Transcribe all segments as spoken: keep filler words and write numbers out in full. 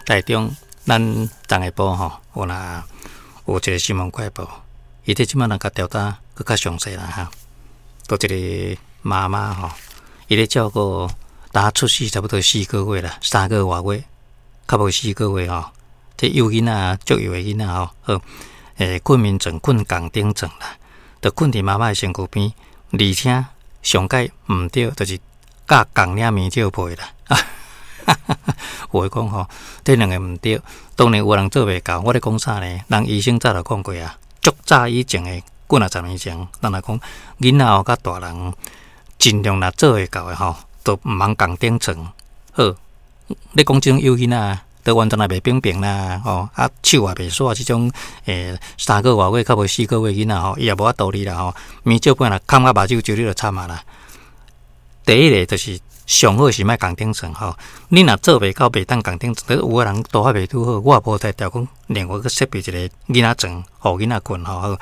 台中咱昨下晡吼，有若有一個新聞快報，伊這這擺人共調查閣較詳細啦哈。都一個媽媽吼，伊咧照顧呾出世差不多四個月啦，三個外月，較無四個月吼。這幼囡仔足幼的囡仔吼，好，欸，睏眠床睏仝頂床啦，就睏佇媽媽的身軀邊，而且上蓋毋對，就是蓋仝領棉罩被啦。有的講吼，這兩個毋對，當然有人做袂到。我咧講啥呢？人醫生早就講過啊，足早以前的幾若十年前，人來講囡仔吼佮大人盡量若做會到的吼，都毋通仝頂床。好，你講這種幼囡仔，都完全也袂平平啦，吼啊手也袂煞，這種欸三個外月較無四個月囡仔吼，伊也無法度理啦吼。棉罩被若崁甲目睭就你就慘啊啦。第一个就是上好是莫仝頂床吼，你若做袂到袂當仝頂床，有的人拄仔袂拄好，我也無才調講另外閣設備一個囡仔床，予囡仔睏吼好。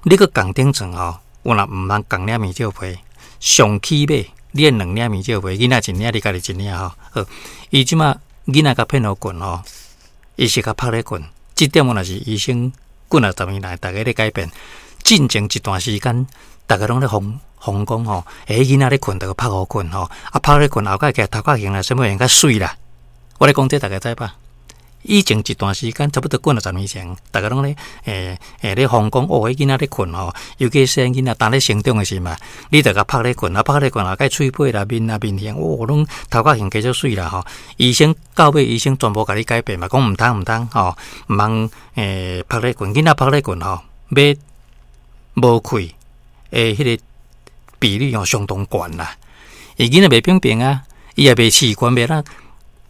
你閣仝頂床吼，有若毋通仝領棉罩被，上起碼你愛兩領棉罩被，囡仔一領，你家己一領吼。好，伊這擺囡仔共騙予睏吼，伊是共曝咧睏，這點我若是醫生幾若十年來逐家咧改變，進前一段時間，逐家攏咧瘋瘋講吼，欸，囡仔咧睏，著曝予睏吼，啊，曝咧睏後蓋起來頭殼型啦，啥物會較媠啦。我咧講這逐家知吧？以前一段時間，差不多幾若十年前，逐家攏咧，欸欸咧瘋講，哦，彼囡仔咧睏吼，尤其細漢囡仔當咧成長的時嘛，你著共曝咧睏，啊，曝咧睏後蓋喙皮啦、面啊、面型，哦，攏頭殼型加足媠啦吼。醫生到尾醫生全部共你改變嘛，講毋通毋通吼，毋通欸曝咧睏，囡仔曝咧睏吼，欲無氣的彼個比率吼相當懸啦。伊囡仔袂平平啊，伊也袂習慣，袂啦，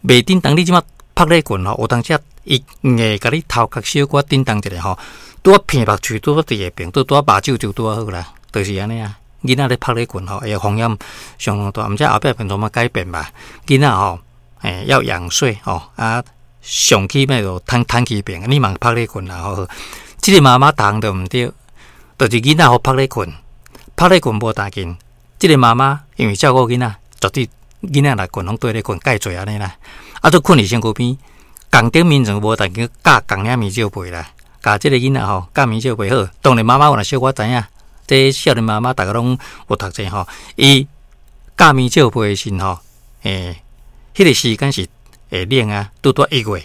袂振動。你這擺曝咧睏吼，有當時伊硬共你頭殼小可振動一下吼，拄仔鼻目喙拄仔佇下爿，拄拄仔目睭就拄仔好啦，就是按呢啊。囡仔咧曝咧睏吼，會風險相當大，毋知後壁變怎麼改變吧？囡仔吼，欸，要仰睡吼，啊，上起碼就攤攤起爿，你嘛曝咧睏啦吼。這個媽媽逐項都毋對，就是囡仔予曝咧睏，曝咧睏無大緊。這個媽媽因為照顧囡仔，絕對囡仔若睏攏綴咧睏，蓋濟按呢啦。啊，都睏佇身軀邊，仝頂眠床無但去蓋仝領棉罩被啦，共這個囡仔吼蓋棉罩被好。當然媽媽有若小可知影，這少年媽媽逐家攏有讀冊吼，伊蓋棉罩被的時吼，欸，彼個時間是會冷啊，拄拄一月，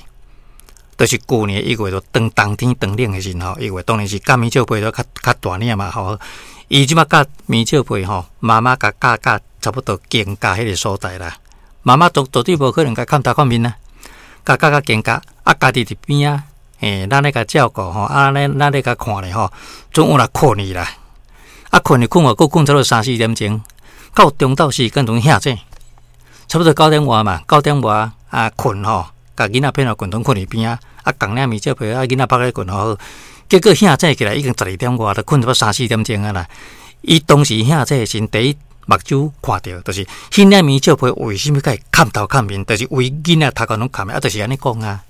就是舊年一月就當冬天當冷的時吼，一月當然是蓋棉罩被都較較大領嘛吼。伊這擺蓋棉罩被吼，媽媽共蓋蓋差不多肩胛彼個所在啦。媽媽絕絕對無可能共崁頭崁面啊，共蓋甲肩胛，啊，家己佇邊仔，欸，咱咧共照顧吼，啊，咱咱咧共看咧吼，總有若睏去啦，啊，睏去睏予閣睏差不多三四點鐘，到中晝時間陣醒醒，差不多九點外嘛，九點外啊睏吼，共囡仔騙予睏，陣睏佇邊仔，啊，仝領棉罩被，啊，囡仔曝咧睏吼，結果醒醒起來已經十二點外，就睏差不多三四點鐘啊啦。伊當時醒醒的時，第一目睭看著，就是彼領棉罩被為啥物共伊崁頭崁面，就是為囡仔頭殼攏崁的，啊，就是按呢講啊。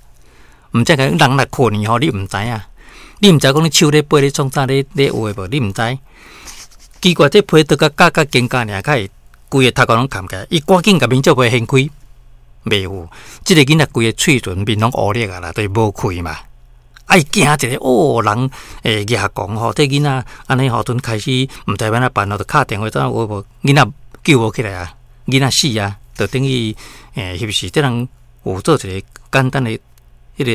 毋知講人若睏去吼，你毋知影，你毋知講你手咧背咧創啥咧咧有的無，你毋知。奇怪，這被都共蓋甲肩胛爾，較會規个頭殼攏崁起來。伊趕緊共棉罩被掀開，袂有。這個囡仔規个喙唇面攏烏綠啊啦，就是無氣嘛。啊！伊驚一下，哦，人會舉講吼，這囡仔按呢吼，陣開始毋知欲按怎辦咯，就敲電話怎有無囡仔救無起來啊？囡仔死啊，就等於欸，翕死。這人有做一個簡單的彼個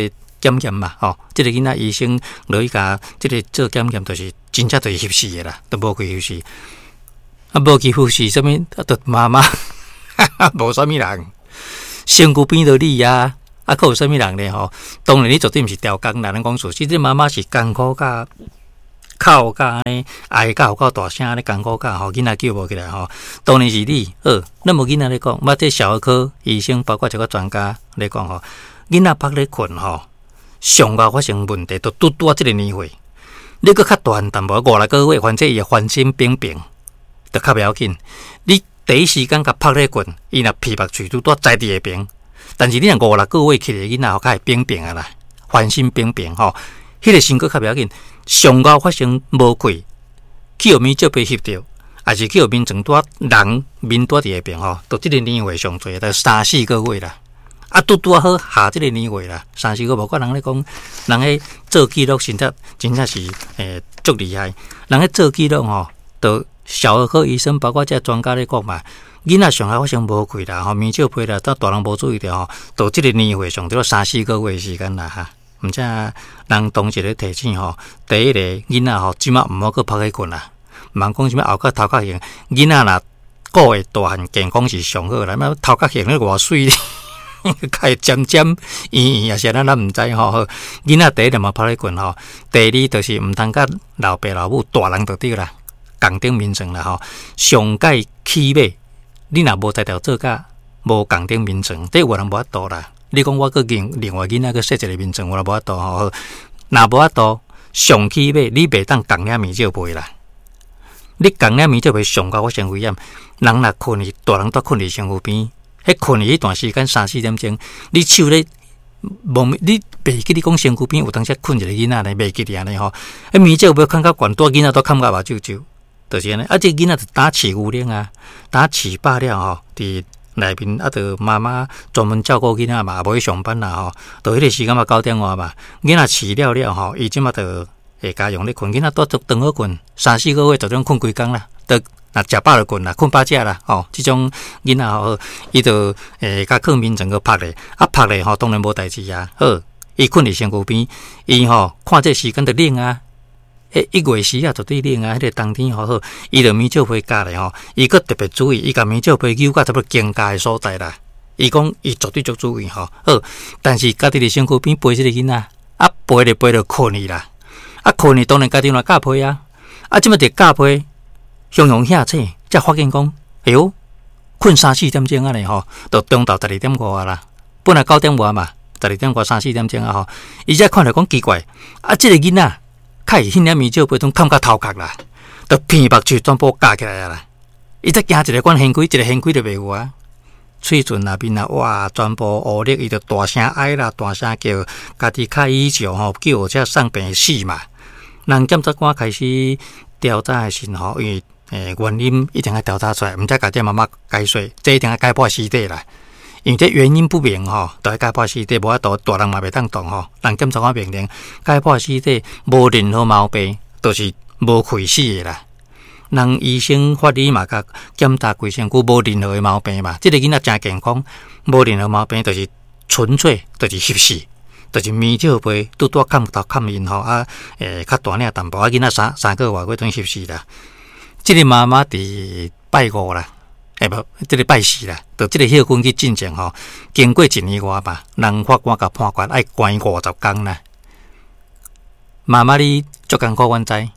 檢驗嘛，吼，這個囡仔醫生落去共這個做檢驗，就是真正就是翕死的啦，都無氣翕死。啊，無氣翕死，啥物？啊，就媽媽，無啥物人，身軀邊著你啊。啊，閣有啥物人咧吼？當然，你絕對毋是刁工啦。咱講事實，這媽媽是艱苦甲哭甲按呢，哀甲有夠大聲按呢艱苦甲吼，囡仔救無起來吼。當然是你好，咱無囡仔咧講，嘛這小兒科醫生，包括一個專家咧講吼，囡仔曝咧睏吼，上後發生問題，就拄拄仔這個年歲，你閣較大漢淡薄，五六個月，反正伊會翻身平平，就較袂要緊。你第一時間共曝咧睏，伊若鼻目喙拄拄在佇下爿。但是你若五六個月起來囡仔吼，較會平平啊啦，翻身平平吼，彼個時閣較袂要緊。上後發生無氣，去予棉罩被翕著，抑是去予眠床拄人面拄佇下爿吼，就這個年歲上濟，就三四個月啦。啊，拄拄仔好下這个年月啦，三四個無怪人咧講，人彼做記錄實在真正是欸足厲害。人彼做記錄吼，就小兒科醫生，包括這專家咧講嘛，囡仔上愛發生無氣啦，吼，眠笑皮啦，當大人無注意著吼，到這个年歲上著三四個月時間啦哈。毋知人當時咧提醒吼，第一个囡仔吼，這馬毋好閣曝咧睏啦，毋通講啥物後殼頭殼型，囡仔若顧會大漢健康是上好啦，欲頭殼型咧偌媠，較會尖尖圓圓，抑是按怎咱毋知吼。囡仔第一毋好曝咧睏吼，第二就是毋通佮老爸老母大人就對啦，仝頂眠床啦吼。上蓋起碼你若無才調做甲無仝頂眠床，這有人無法度啦。你講我閣另另外囡仔閣設一個眠床，有人無法度吼。若無法度，上起碼你袂當仝領眠罩被啦。你仝領眠罩被上較發生危險。人若睏去，大人蹛睏佇身軀邊，彼睏去彼段時間三四點鐘，你手咧無，你袂記你講身軀邊有當時睏一個囡仔呢，袂記得按呢吼。彼眠罩被囥較懸，蹛囡仔都崁甲目睭睭，就是按呢。啊，這個囡仔就焦飼牛奶啊，焦飼飽了吼，佇內面啊，就媽媽專門照顧囡仔嘛，無去上班啦吼。到彼個時間嘛，九點外嘛，囡仔飼了了吼，伊這馬就會家用咧睏，囡仔蹛足長好睏，三四個月就種睏規工啦，就若食飽就睏啦，睏飽食啦，吼，這種囡仔吼，伊就會共囥眠床閣曝咧，啊曝咧吼，當然無代誌啊。好，伊睏佇身軀邊，伊吼看這時間就冷啊。彼一月時啊，絕對冷啊！彼個冬天吼好，伊就眠罩被蓋咧吼，伊閣特別注意，伊共眠罩被扭到差不多肩胛的所在啦。伊講伊絕對足注意吼，好，但是家己佇身軀邊陪這個囡仔，啊陪咧陪咧睏去啦，啊睏去當然家己嘛蓋被啊，啊這馬佇蓋被，雄雄嚇醒，才發現講，哎喲，睏三四點鐘按呢吼，就中晝十二點外啦，本來九點外嘛，十二點外三四點鐘啊吼，伊才看著講奇怪，啊這個囡仔。較會彼領眠罩被攏崁甲頭殼啦，就鼻目睭全部咬起來啊啦！伊才驚一个管掀開，一个掀開就袂有啊。喙唇內面啊，哇，全部烏綠，伊就大聲哀啦，大聲叫，家己較以笑吼，救護車送病死嘛。人檢察官開始調查的時吼，因為欸原因一定愛調查出來，毋才共這媽媽解說，這一定愛解剖屍體啦。因為這原因不明吼，就愛解剖屍體，無法度大人嘛袂當動吼。人檢察官命令解剖屍體，無任何毛病，就是無氣死的啦。人醫生法醫嘛，共檢查規身軀無任何的毛病嘛。這個囡仔誠健康，無任何毛病，就是純粹就是翕死，就是眠罩被拄拄崁頭崁𪜶吼啊，欸較大領淡薄啊，囡仔三三個外月等於翕死啦。這個媽媽佇拜五啦。欸無，這個拜四啦，就這個歇睏去進前吼，經過一年外嘛，人法官共判決愛關五十工啦。媽媽你足艱苦，阮知，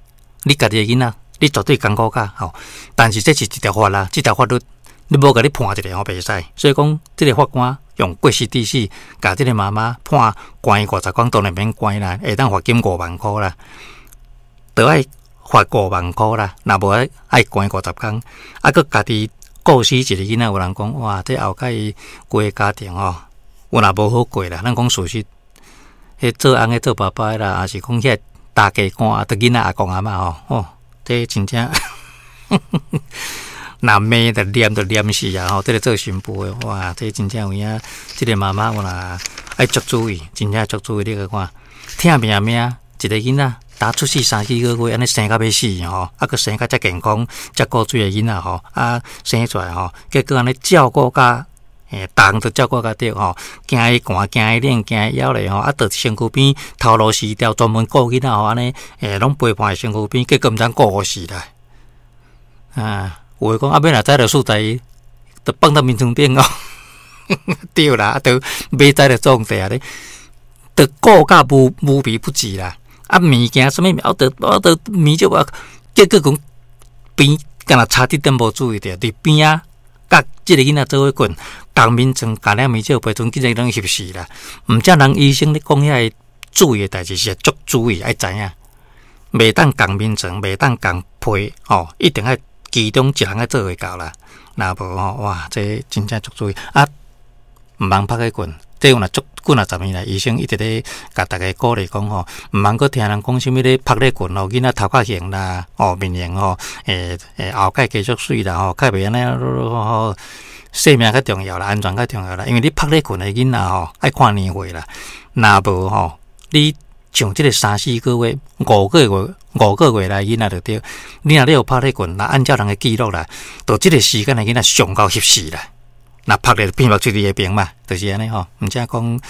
你家己的囡仔，你絕對艱苦較吼。但是這是一條法啦，這條法律你無共你判一个吼袂使，所以講這個法官用過失致死，共這個媽媽判關五十工，當然免關啦，會當罰金五萬箍啦，著愛罰五萬箍啦，若無愛愛關五十工，啊，閣家己。顧死一個囡仔，有人講哇，這後蓋規个家庭吼，有若無好過啦。咱講事實，彼做翁的做爸爸的啦，抑是講遐大家官，著囡仔阿公阿嬤吼，哦，這真正若罵就念就念死啊！吼，這个做新婦的，哇，這真正有影，這个媽媽有若愛足注意，真正足注意。你閣看，疼命命一个囡仔。焦出世三四个月，按呢生甲欲死吼，啊，閣生甲遮健康、遮顧水的囡仔吼，啊，生出來吼，結果按呢照顧甲，欸，逐項都照顧甲著吼，驚伊寒，驚伊冷，驚伊枵咧吼，啊，佇身軀邊頭路死掉，專門顧囡仔吼，按呢，欸，攏陪伴佇身軀邊，結果毋知顧死啦。啊，有的講啊，欲若知就輸在伊，就放佇眠床頂哦。對啦，啊，就欲知就創地啊咧，就顧甲無無微不至啦。啊，物件啥物，我著我著物就啊，結果講邊敢若差一點無注意著，佇邊仔佮這個囡仔做伙睏，仝眠床共領眠罩被陣，竟然攏翕死啦。毋才人醫生咧講遐个注意的代誌是足注意，愛知影，袂當仝眠床，袂當仝被，吼，一定愛其中一人愛做會到啦。若無吼，哇，這真正足注意啊，毋通曝咧睏。這有若足幾若十年來，醫生一直咧共逐家鼓勵講吼，毋通閣聽人講啥物咧曝咧睏吼，囡仔頭殼型啦，哦面型吼，會會後蓋繼續媠啦吼，較袂按呢吼，生命較重要啦，安全較重要啦。因為你曝咧睏的囡仔吼，愛看年歲啦。若無吼，你像這個三四個月、五個月、五個月來囡仔就對。你若你有曝咧睏，若按照人的記錄啦，到這個時間的囡仔上夠翕死啦。若曝咧變目出佇下邊嘛，就是按呢吼。毋才講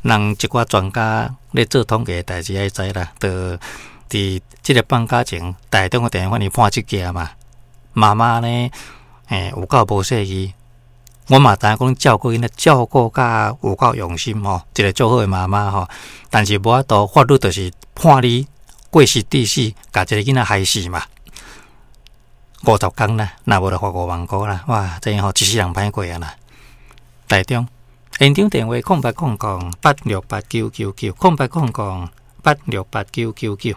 人一寡專家咧做統計的代誌愛知啦，就佇這個放假前，台中的電話你判這件嘛。媽媽呢，欸，有夠無細意。我嘛知影講照顧囡仔照顧甲有夠用心吼，一個足好的媽媽吼。但是無法度，法律就是判你過失致死，共一個囡仔害死嘛。五十工啦，若無就罰五萬箍啦。哇，這吼一世人歹過啊啦。台中現場電話空八空空八六八九九九，空八空空八六八九九九。